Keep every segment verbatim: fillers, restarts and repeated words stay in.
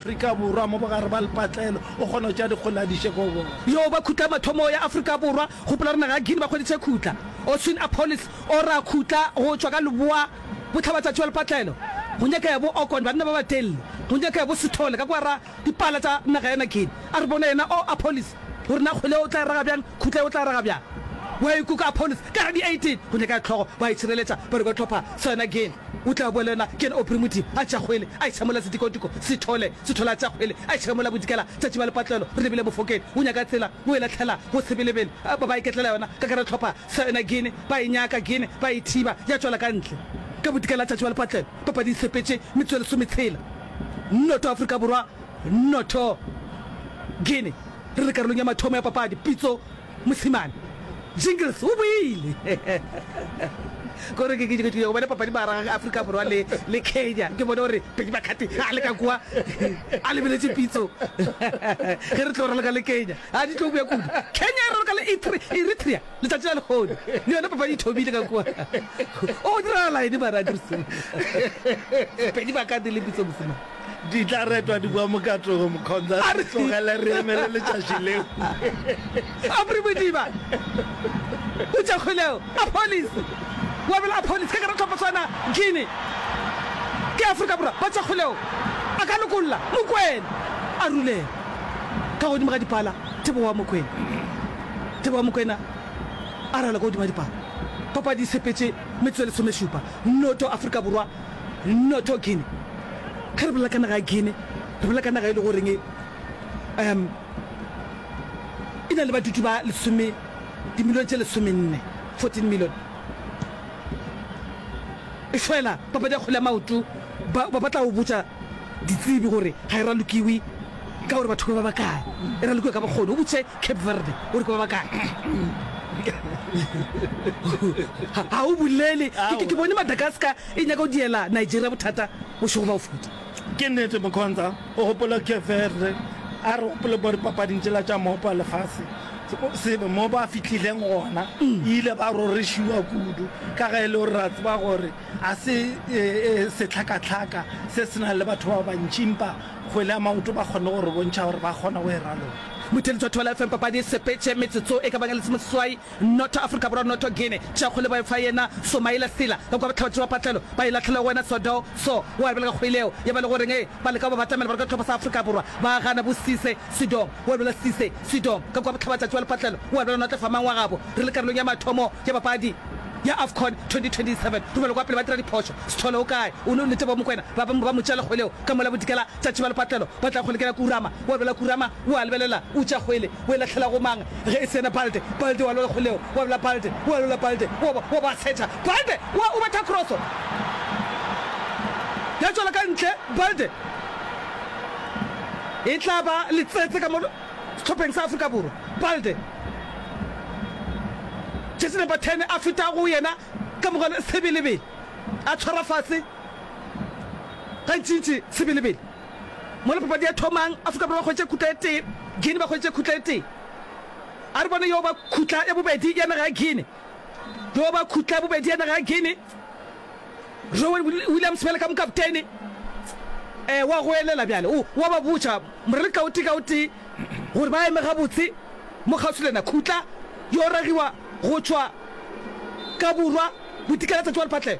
Afrika Borwa mo bogare ba lepatlelo, o kgona go tšea dikgole a di iše ko bona. Yo ba khutla mathomo ya Afrika Borwa, gopola gore naga ya Guinea ba hweditše khutla. Oswin Appollis o ra khutla go tšwa ka leboa bohlabatšatši wa lepatlelo. Go nyakega bo Okon, banna ba batelele. Go nyakega bo Sithole ka kwa ra dipala tša naga ya Guinea. A re bone yena o Appollis gore na kgwele o tla e raga bjang, khutla o tla e raga bjang. Wa ikuka Appollis ka ra di eighteen. Go nyakega hlogo, ba itšhireletša, ba re ba hlopha sa yona Guinea. O tla boela yena ke yena Aubrey Modimo a tšea kgwele a e tšhamola sedikodiko Sithole Sithole a tšea kgwele a e tšhamola bodikela tšatši ba lepatlelo re lebile Mofokeng o nyaka tsela o e lahlela go Sebelebele ba ba iketlela yona ka gare hlopha sa yona Guinea ba e nyaka Guinea ba e thiba ya tšwela ka ntle ka bodikela tšatši ba lepatlelo papadi e sepetše metsotso e lesometshela noto Afrika Borwa noto Guinea re le karolong ya mathomo ya papadi Pitso Mosimane Jingles o boile kore ke ke ke bone papadi mara ga Afrika Borwa le le Kenya ke bone gore Pedi Makgati a le ka kwa a lebeletše pitso ge re tlo raloka le Kenya a di tlo boya kudu Kenya e raloka le Eritrea letšatši la lehono le yona papadi e thomile ka kwa o diragala eng mara Andrews Pedi Makgati le Pitso Mosimane. Di tla retwa di boa mokatogo, Mkhonza, A re tlogele re emele letšatši leo. Aubrey Modiba o tša kgoleo Appollis wa bela Appollis ka gare tlhopha swana Guinea ke Afrika Borwa ba tša kgoleo a ka lokolla Mokwena a rulela ka godimo ga dipala Tebogo wa Mokwena Tebogo wa Mokwena a rala ka godimo ga dipala papadi e sepetše metsotso e lesomešupa noto Afrika Borwa noto Guinea. Ge re bolela ka naga ya Guinea, re bolela ka naga e le goreng um e na le badudi ba lesome dimilione tše lesomenne, fourteen million. Efela papadi ya kgwele ya maoto ba ba tla go botša ditsebi gore ga e ralokiwe ka gore batho ke ba bakae, e ralokiwa ka bokgoni. O botše Cape Verde gore ke ba bakae. Ga o bolele. Ke, ke bone Madagascar e nyaka go diela Nigeria bothata bošego ba go feta. Ke nnete Mokhonza, o gopola Cape Verde, a re gopole mo dipapading tšela tša mopo wa lefase, se mo ba fihlileng gona, ile ba rorišiwa kudu, ka ge e le gore ra tseba gore a se sehlakahlaka se se nang le batho ba bantši, empa kgwele ya maoto ba kgonne go re bontšha gore ba kgona go e raloka. Motheeletši wa Thobela F M papadi e sepetše metsotso e ka bang e lesomeseswai noto Afrika Borwa noto Guinea tšea kgwele ba e fa yena Somaila Sila ka kua bohlabatšatši ba patlelo ba e lahlela go wena Sodo So wa lebelela kgwele yeo ya ba le goreng e ba leka go ba batamela ba re ka hlopha sa Afrika Borwa ba gana bo Cisse Sidom wa lebelela Cisse Sidom ka kua bohlabatšatši ba lepatlelo wa lebelela Notle Famang wa gabo re le karolong ya mathomo ya papadi ya AFCON twenty twenty seven Romelo kwa pele ba dira diphošo Sithole o kae o ne o Lethebo Mokwena ba ba mo tšeela kgwele yeo ka mola bodikela tšatši ba lepatlelo ba tla kgwele ke ya Kurama wa lebelela Kurama o a lebelela o tšea kgwele o e lahlela go mang ge e se yena Balde Balde wa lebelela kgwele yeo wa lebelela Balde wa lebelela Balde wa ba wa ba setha Balde wa o betha kroso ya tšwela ka ntle Balde e tla ba letsetse ka mo sehlopheng sa Afrika Borwa Balde jersey number ten a feta go yena ka mogala Sebelebele a tshwara fase gantšintši Sebelebele mola papadi ya thomang Afrika Borwa ba hwetše khutla e tee Guinea ba hwetše khutla e tee a re bone yo ba khutla ya bobedi ya naga ya Guinea yo ba khutla ya bobedi ya naga ya Guinea Rowan Williams bjale ka mokaptene eh wa goelela bjale o wa ba botša morele ka o tee ka o tee gore ba eme gabotse mo kgauswi le yena. Khutla yo ragiwa go tšwa ka borwa bodikela tšatši wa lephatlelo.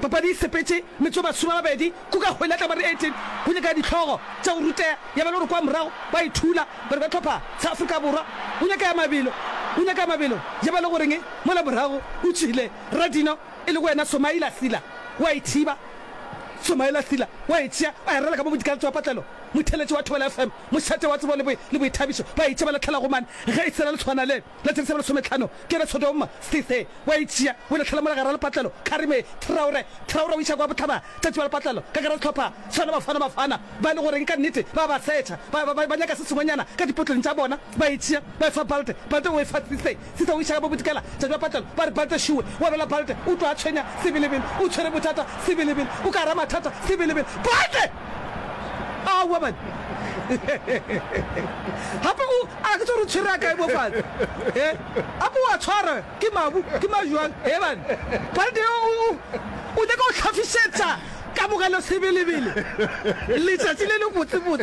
Papadi e sepetše metsotso masome a mabedi kuka kgwele ya tlamare eighteen go nyaka dihlogo tša go ruteya ya ba le gore kwa morago ba e thula ba re ba hlopha sa Afrika Borwa go nyaka ya mabelo go nyaka ya mabelo ya ba le goreng mola morago o tšwile Radino e lego yena Somaila Sila wa e thiba Somaila Sila wa e tšea a e rela ka mo bodikela tša wa patlelo Motheeletši wa Thobela F M mošate wa tsebo le boithabišo ba e tšea ba lahlela go mane ge e sela letshwana le la tšhelete ya lesometlhano ke yena Sodoma Sise wa e tšea o e lahlela mola gare ga lepatlelo Karime Traore Traore o iša kwa bohlaba tšatši ba lepatlelo ka gare ga sehlopha sona Bafana Bafana ba e le goreng ka nnete ba ba setšha ba ba ba nyaka se sengwenyana ka dipotleng tša bona ba e tšea ba e fa Balde Balde o e fa Sise Sise o iša ka bo bodikela tšatši ba patlelo ba re Balde šuwe wa bela Balde o tlo a tshwenya Sebelebele o tshwere bothata Sebelebele o ka gara mathata Sebelebele Balde Aowa man gape o a ke tsore o tshwere a kae mo fatshe he gape o a tshwara ke mabu ke majwang he man Balde o o o nyaka go hlafišetša Kamogelo Sebelebele, letšatši le le botsebotse.